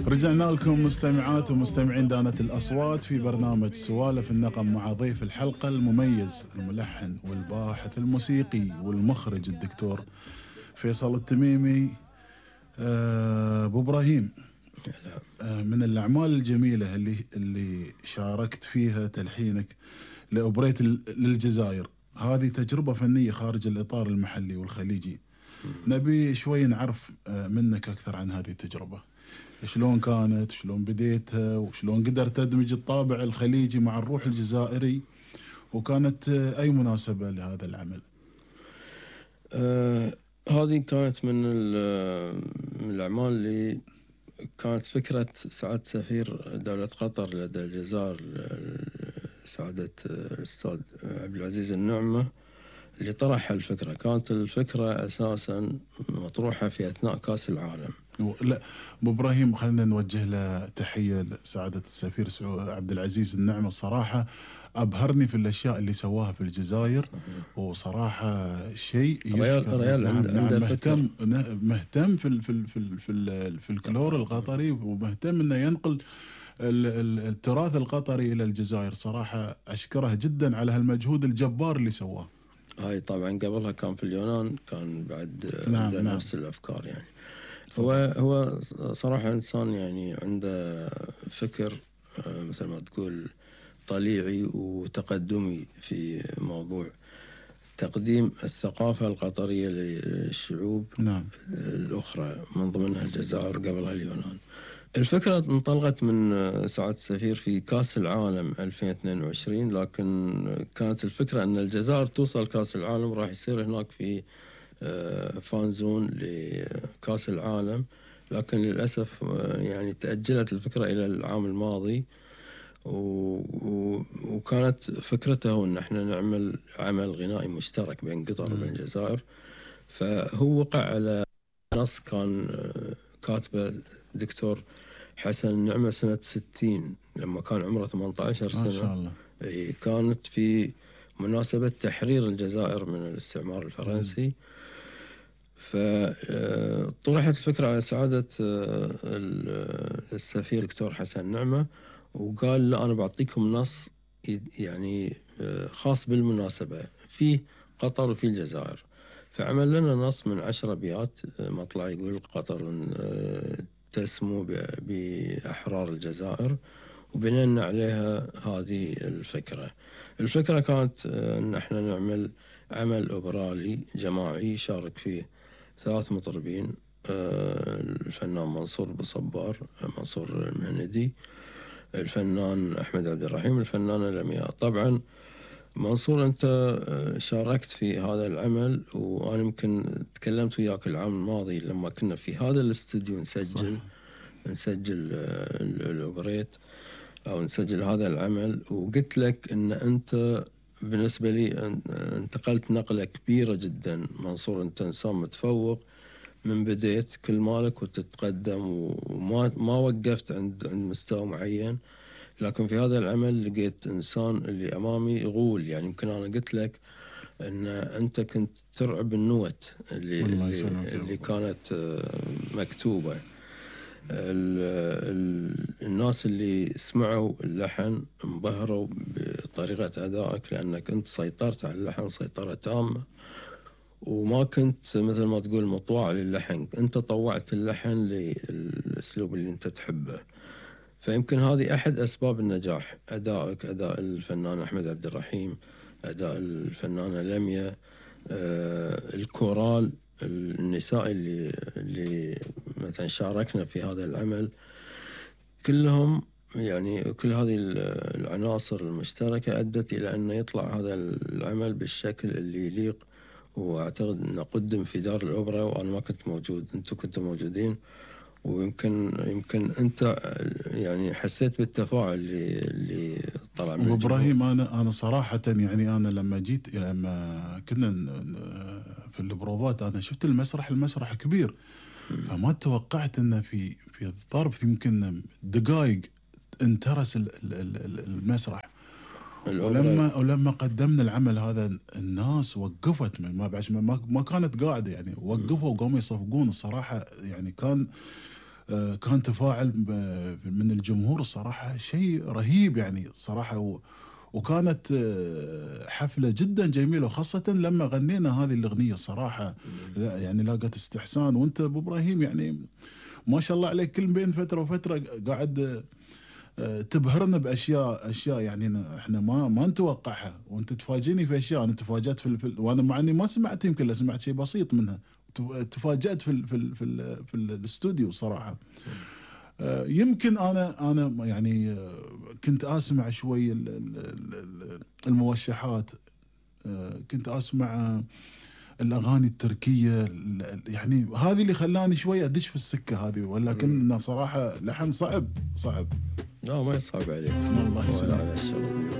رجعنا لكم مستمعات ومستمعين دانة الأصوات في برنامج سوالف النغم مع ضيف الحلقة المميز الملحن والباحث الموسيقي والمخرج الدكتور فيصل التميمي. أبو إبراهيم، من الأعمال الجميلة اللي شاركت فيها تلحينك لأوبريت للجزائر، هذه تجربة فنية خارج الإطار المحلي والخليجي. نبي شوي نعرف منك أكثر عن هذه التجربة، شلون كانت، شلون بديتها، وشلون قدرت تدمج الطابع الخليجي مع الروح الجزائري، وكانت أي مناسبة لهذا العمل؟ هذه كانت من الأعمال اللي كانت فكرة سعادة سفير دولة قطر لدى الجزائر سعادة الأستاذ عبد العزيز النعمة اللي طرح الفكرة. كانت الفكرة أساساً مطروحة في أثناء كأس العالم. لا أبو إبراهيم، خلينا نوجه له تحية لسعادة السفير عبد العزيز النعمة. الصراحة أبهرني في الأشياء اللي سواها في الجزائر، وصراحة شيء ريال عنده مهتم في الكلور القطري، ومهتم إنه ينقل التراث القطري إلى الجزائر. صراحة أشكره جدا على هالمجهود الجبار اللي سواه. هاي طبعا قبلها كان في اليونان، كان بعد عنده نفس الأفكار. يعني هو صراحة إنسان يعني عنده فكر مثل ما تقول طليعي وتقدمي في موضوع تقديم الثقافة القطرية للشعوب الأخرى، من ضمنها الجزائر قبلها اليونان. الفكرة انطلقت من سعادة السفير في كأس العالم 2022، لكن كانت الفكرة أن الجزائر توصل كأس العالم، راح يصير هناك في فانزون لكأس العالم، لكن للأسف يعني تأجلت الفكرة إلى العام الماضي. وكانت فكرته أن احنا نعمل عمل غنائي مشترك بين قطر وبين الجزائر. فهو وقع على نص كان كاتبه دكتور حسن النعمة سنة 60 لما كان عمره 18 سنة. ما شاء الله. كانت في مناسبة تحرير الجزائر من الاستعمار الفرنسي. فطرحت الفكرة على سعادة السفير دكتور حسن النعمة، وقال لا أنا بعطيكم نص يعني خاص بالمناسبة في قطر وفي الجزائر. فعمل لنا نص من 10 أبيات مطلع يقول قطر تسمو بأحرار الجزائر، وبنينا عليها هذه الفكرة. الفكرة كانت أن احنا نعمل عمل أوبرالي جماعي شارك فيه 3 مطربين، الفنان منصور بصبار، منصور المهندي، الفنان أحمد عبد الرحيم، الفنانة لمياء. طبعا منصور أنت شاركت في هذا العمل، وأنا يمكن تكلمت وياك العام الماضي لما كنا في هذا الاستوديو نسجل الأوبريت أو نسجل هذا العمل، وقلت لك أن أنت بالنسبة لي انتقلت نقلة كبيرة جدا. منصور أنت إنسان متفوق من بديت كل مالك وتتقدم، وما وقفت عند مستوى معين، لكن في هذا العمل لقيت إنسان اللي أمامي غول. يعني يمكن أنا قلت لك أن أنت كنت ترعب النوت اللي كانت مكتوبة. الناس اللي سمعوا اللحن انبهروا بطريقة أدائك، لأنك أنت سيطرت على اللحن سيطرة تامة، وما كنت مثل ما تقول مطوع للحن، أنت طوعت اللحن للأسلوب اللي أنت تحبه. فيمكن هذه أحد أسباب النجاح، أدائك، أداء الفنان أحمد عبد الرحيم، أداء الفنانة لمياء، الكورال النسائي اللي مثلا شاركنا في هذا العمل، كلهم يعني كل هذه العناصر المشتركة أدت إلى أن يطلع هذا العمل بالشكل اللي يليق. وأعتقد أنه قدم في دار الأوبرا وأنا ما كنت موجود، أنتم كنتوا موجودين، ويمكن أنت يعني حسيت بالتفاعل اللي طلع من إبراهيم. أنا صراحة يعني أنا لما كنا في البروفات أنا شفت المسرح كبير، فما توقعت أنه في ظرف يمكن دقائق انترس المسرح. ولما قدمنا العمل هذا الناس وقفت، ما كانت قاعدة، يعني وقفوا وقاموا يصفقون. الصراحة يعني كان كان تفاعل من الجمهور الصراحة شيء رهيب يعني صراحة. وكانت حفلة جدا جميلة، وخاصة لما غنينا هذه الأغنية صراحة لا يعني لاقت استحسان. وانت ابو ابراهيم يعني ما شاء الله عليك، كل بين فترة وفترة قاعد تبهرنا باشياء يعني احنا ما نتوقعها، وانت تفاجئني في اشياء. انا تفاجأت وانا مع اني ما سمعت، يمكن لا سمعت شيء بسيط منها، تفاجأت في الاستوديو صراحة. يمكن انا يعني كنت اسمع شوي الموشحات، كنت اسمع الاغاني التركيه، يعني هذه اللي خلاني شوي ادش في السكه هذه. ولكن صراحه لحن صعب. لا ما يصعب عليك، الله يسلمك. على الشغل.